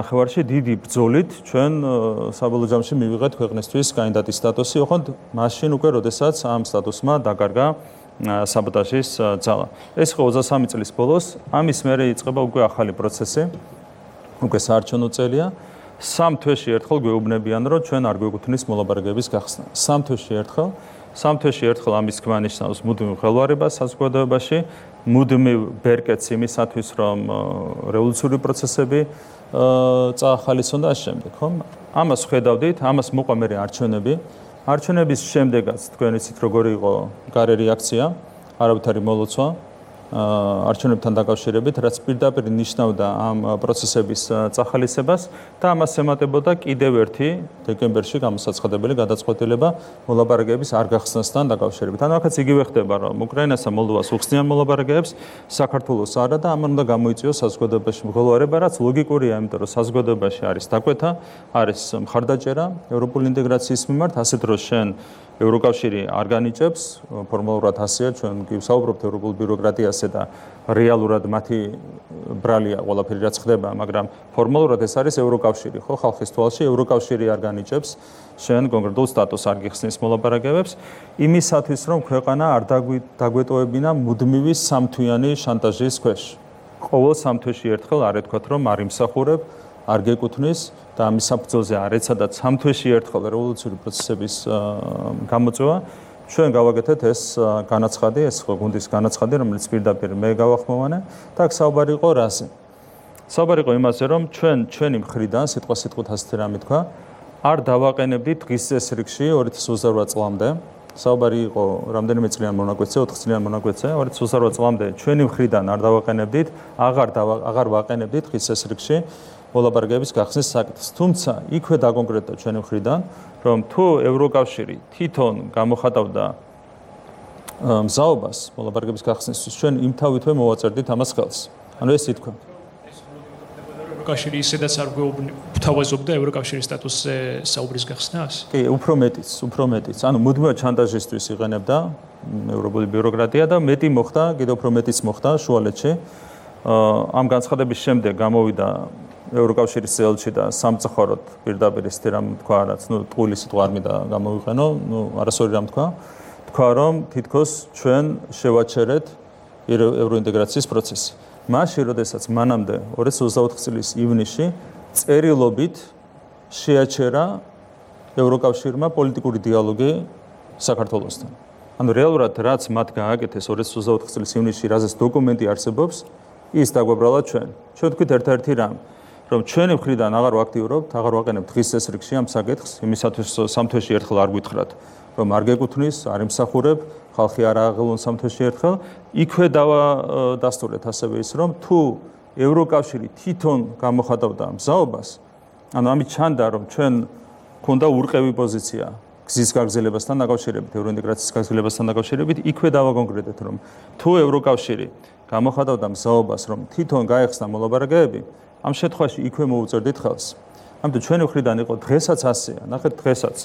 ნახევარში დიდი ბრძოლით ჩვენ საბოლოო ჯამში მივიღეთ ქვეყნისთვის კანდიდატის სტატუსი, ოღონდ მაშინ უკვე როდესაც ამ სტატუსმა დაკარგა საბოტაჟის ძალა. ეს ხო 23 წლის ბოლოს, ამის მერე იწყება უკვე ახალი პროცესი, უკვე საარჩევნო წელია. 3 თვეში ერთხელ გვეუბნებიან, რომ ჩვენ არ გვეკუთვნის მოლაპარაკებების გახსნა. 3 თვეში ერთხელ ამის თქმა ნიშნავს მუდმივ ხელვარებას საზოგადოებაში, მუდმივ ბერკეტს იმისათვის, რომ რევოლუციური პროცესები წაახალისონ და ამ შემდეგ, ხო? ამას ხედავდით, ამას მოყვა მე არჩევნები. არჩევნების შემდეგაც თქვენ იცით როგორი იყო გარე რეაქცია, არავითარი მოლოცვა არჩევნებთან დაკავშირებით, რაც პირდაპირ ნიშნავდა ამ პროცესების წახალისებას და ამას ემატებოდა კიდევ ერთი დეკემბერში გამოსაცხადებელი გადაწყვეტილება მოლაპარაკებების არ გახსნასთან დაკავშირებით. ანუ აქაც იგივე ხდება, რომ უკრაინას და მოლდოვას უხსნიან მოლაპარაკებებს, საქართველოს არა და ამან უნდა გამოიწვიოს საზოგადოებაში მღელვარება, რაც ლოგიკურია, იმიტომ რომ საზოგადოებაში არის დაკვეთა, არის მხარდაჭერა ევროპული ინტეგრაციის მიმართ, ასეთ დროს შენ ევროკავშირი არ განიჭებს, ფორმალურად ასეა, ჩვენ კი ვსაუბრობთ ევროპულ ბიუროკრატიაზე და რეალურად მათი ბრალია ყველაფერი რაც ხდება, მაგრამ ფორმალურად ეს არის ევროკავშირი, ხო, ხალხის თვალში ევროკავშირი არ განიჭებს შენ კონკრეტულ სტატუსს არ გიხსნის მოლაპარაკებებს, იმისათვის რომ ქვეყანა არ დაგვეტოვებინა მუდმივი სამთვიანი შანტაჟის ქვეშ. ყოველ 3 თვეში ერთხელ არ ეთქვათ, რომ არ იმსახურებ, არ გეკუთვნის და ამის საფუძველზე არ ეცადათ 3 თვეში ერთხელ რევოლუციური პროცესების გამოწვევა. ჩვენ გავაკეთეთ ეს განაცხადი, ეს გუნდის განაცხადი, რომელიც პირდაპირ მე გავახმოვანე და აქ საუბარი იყო რაზე? საუბარი იყო იმაზე, რომ ჩვენი მხრიდან სიტყვასიტყვით ასეთი რამე თქვა, არ დავაყენებდით დღის წესრიგში 2028 წლამდე. საუბარი იყო რამდენიმე წლიან მონაკვეთზე, 4 წლიან მონაკვეთზე, 2028 წლამდე ჩვენი მხრიდან არ დავაყენებდით, აღარ ვაყენებდით დღის წესრიგში მოლაპარაკებების გახსნის საკითხს. თუმცა იქვე დაკონკრეტდა ჩვენი მხრიდან, რომ თუ ევროკავშირი თვითონ გამოხატავდა მზაობას მოლაპარაკების გახსნისთვის, ჩვენ იმთავითვე მოვაწერდით ამას ხელს. ანუ ეს ითქვა. ევროკავშირი ისედაც არ გვთავაზობდა ევროკავშირის სტატუსზე საუბრის გახსნას? კი, უფრო მეტიც. ანუ მუდმივად შანტაჟისთვის იყენებდა ევროპული ბიუროკრატია და მეტი მოხდა, კიდევ უფრო მეტიც მოხდა შუალედში. ამ განცხადების შემდეგ გამოვიდა ევროკავშირის წელში და სამწუხაროდ პირდაპირ ისეთი რამ თქვა, რაც ტყუილი სიტყვა არ მინდა გამოვიყენო, არასორი რამ თქვა, რომ თითქოს ჩვენ შევაჩერეთ ევროინტეგრაციის პროცესი. მაშინ, როდესაც მანამდე 2024 წლის ივნისში წერილობით შეაჩერა ევროკავშირმა პოლიტიკური დიალოგი საქართველოსთან. ანუ რეალურად რაც მათ გააკეთეს 2024 წლის ივნისში, რაზეც დოკუმენტი არსებობს, ის დაგვაბრალა ჩვენ. ჩვენ თქვით ერთ-ერთი რამ, რომ ჩვენი მხრიდან აღარ ვაქტიურობთ, აღარ ვაყენებთ დღის წესრიგში ამ საკითხს, იმისათვის 3 თვეში ერთხელ არ გითხრათ, რომ არ გეკუთვნის, არ იმსახურებ, ხალხი არ აღელონ 3 თვეში ერთხელ, იქვე დავადასტურეთ ასევე ის, რომ თუ ევროკავშირი თვითონ გამოხატავდა მზაობას, ანუ ამით ჩანდა, რომ ჩვენ ქონდა ურყევი პოზიცია გზის გაგრძელებასთან დაკავშირებით, ევროინტეგრაციის გაგრძელებასთან დაკავშირებით, იქვე დავაკონკრეტეთ, რომ თუ ევროკავშირი გამოხატავდა მზაობას, რომ თვითონ გაეხსნა მოლაპარაკებები, ამ შემთხვევაში იქვე მოუწერდით ხელს. ამიტომ ჩვენი მხრიდან იყო დღესაც ასეა. ნახეთ დღესაც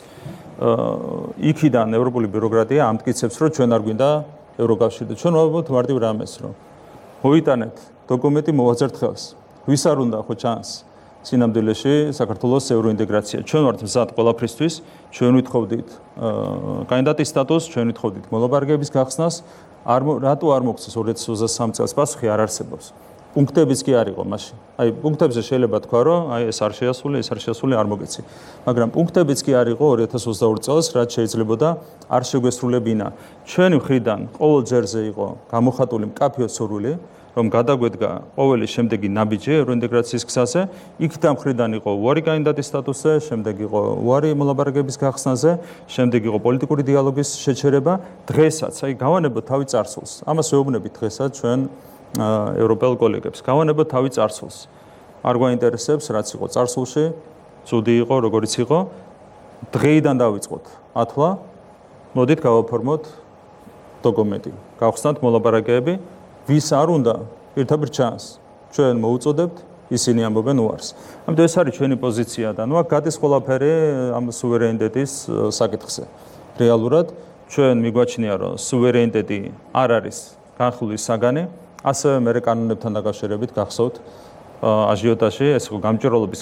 იქიდან ევროპული ბიუროკრატია ამტკიცებს, რომ ჩვენ არ გვინდა ევროკავშირი და ჩვენ ვაბობთ მარტივ რამეს, რომ მოიტანეთ დოკუმენტი მოვაწერთ ხელს. ვის არ უნდა ხო ჩანს სინამდვილეში საქართველოს ევროინტეგრაცია. ჩვენ ვართ მზად ყველაფრისთვის, ჩვენ ვითხოვდით კანდიდატის სტატუსს, ჩვენ ვითხოვდით მოლაპარაკებების გახსნას, რატო არ მოგცეს 2023 წელს პასუხი არ არსებობს. პუნქტებიც კი არ იყო მაშინ. აი პუნქტებზე შეიძლება თქვა, რომ აი ეს არ შეასრულე, არ მოგეცი. მაგრამ პუნქტებიც კი არ იყო 2022 წელს, რაც შეიძლებოდა არ შეგვესრულებინა. ჩვენი მხრიდან ყოველ ჯერზე იყო გამოხატული მკაფიო სურვილი, რომ გადაგვედგა ყოველი შემდეგი ნაბიჯი ევროინტეგრაციის გზაზე, იქ დამხრიდან იყო უარი კანდიდატის სტატუსზე, შემდეგ იყო უარი მოლაპარაკების გახსნაზე, შემდეგ იყო პოლიტიკური დიალოგის შეჩერება. დღესაც, აი გავანებოთ თავი წარსულს. ამას ვეუბნებით დღესაც ჩვენ ევროპელ კოლეგებს. გავანებოთ თავი წარსულს. არ გვაინტერესებს, რაც იყო წარსულში, ცუდი იყო, როგორიც იყო. დღეიდან დავიწყოთ ათლა, მოდით გავაფორმოთ დოკუმენტი. გავხსნათ მოლაპარაკებები, ვის არ უნდა ერთაბერ ჩანს. ჩვენ მოუწოდებთ, ისინი ამბობენ უარს. ამიტომ ეს არის ჩვენი პოზიცია და აქ გადის ყველაფერი ამ სუვერენიტეტის საკითხზე. რეალურად ჩვენ მიგვაჩნია, რომ სუვერენიტეტი არ არის განხილვის საგანი. ასევე მე კანონებთან დაკავშირებით გახსოვთ აჟიოტაჟი, ეს იყო გამჭვირვალობის